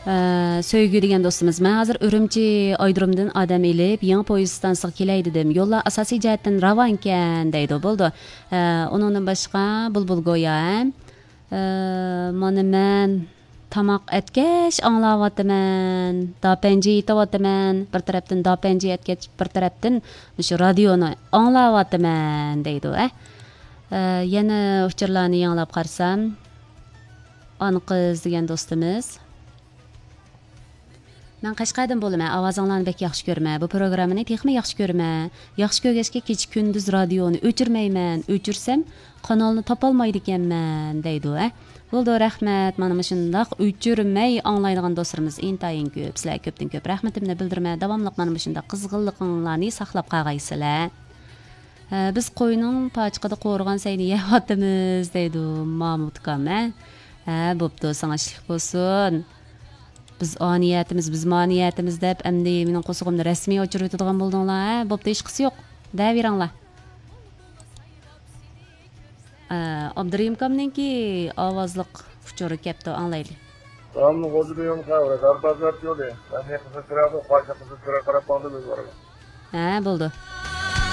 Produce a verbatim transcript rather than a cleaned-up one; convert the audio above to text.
ئە، سۆيگۈ دېگەن دوستىمىز، مەن ھازىر ئۈرۈمچى ئايرودرومدىن ئادەم ئېلىپ، يېڭى پويىز ئىستانسىغا كېلەي دېدىم. يوللار ئاساسىي جەھەتتىن راۋانكەن دەيدۇ. بولىدۇ. ئە، ئۇنىڭدىن باشقا بۇلبۇل گويا، ھە؟ ئە، مانا مەن تاماق ئەتكەچ ئاڭلاۋاتىمەن، داپەنجى ئېتىۋاتىمەن. بىر تەرەپتىن داپەنجى ئەتكەچ، بىر تەرەپتىن مۇشۇ رادىيونى ئاڭلاۋاتىمەن دەيدۇ، ھە؟ ئە، يەنە ئۇچۇرلارنى ياڭلاپ قارىسام، ئانىقىز دېگەن دوستىمىز. مەن قەشقەردىن بولىمەن، ئاۋازىڭلارنى بەك ياخشى كۆرىمەن. بۇ پروگراممىنى تېخىمۇ ياخشى كۆرىمەن. ياخشى كۆرگەچكە كېچە كۈندۈز رادىيونى ئۆچۈرمەيمەن. ئۆچۈرسەم، قانالنى تاپالمايدىكەنمەن، دەيدۇ، ھە. بولىدۇ، رەھمەت. مانا مۇشۇنداق ئۆچۈرمەي ئاڭلايدىغان دوستلىرىمىز ئىنتايىن كۆپ. سىلەرگە كۆپتىن كۆپ رەھمىتىمنى بىلدۈرىمەن. داۋاملىق مانا مۇشۇنداق قىزغىنلىقىڭلارنى ساقلاپ قالغايسىلەر. ھە، بىز قوينىڭ پاچىقىدا قورۇغان سەينى يەۋاتىمىز، دەيدۇ مامۇت ئۇكام، ھە. ھە، بوپتۇ، ساڭا ئىشلىك بولسۇن. بىز ئانىيەتىمىز، بىز مانىيەتىمىز دەپ، ئەمدى مېنىڭ قورسىقىمنى رەسمىي ئوچۇرۇۋېتىدىغان بولدۇڭلار، ھە؟ بوپتۇ، ھېچقىسى يوق. دەۋېرىڭلار. ئە، ئابدۇرېھىم ئاكامنىڭكى ئاۋازلىق ئۇچۇرى كەپتۇ، ئاڭلايلى. سالام، غوجا بىيۇم خەۋەر، داربازلار يولى. مەن قىزىل چىراغدا، قارشى قىزىل چىراغ قاراپ ماڭدىم، ئۆزۈم بارىمەن. ھە، بولدى.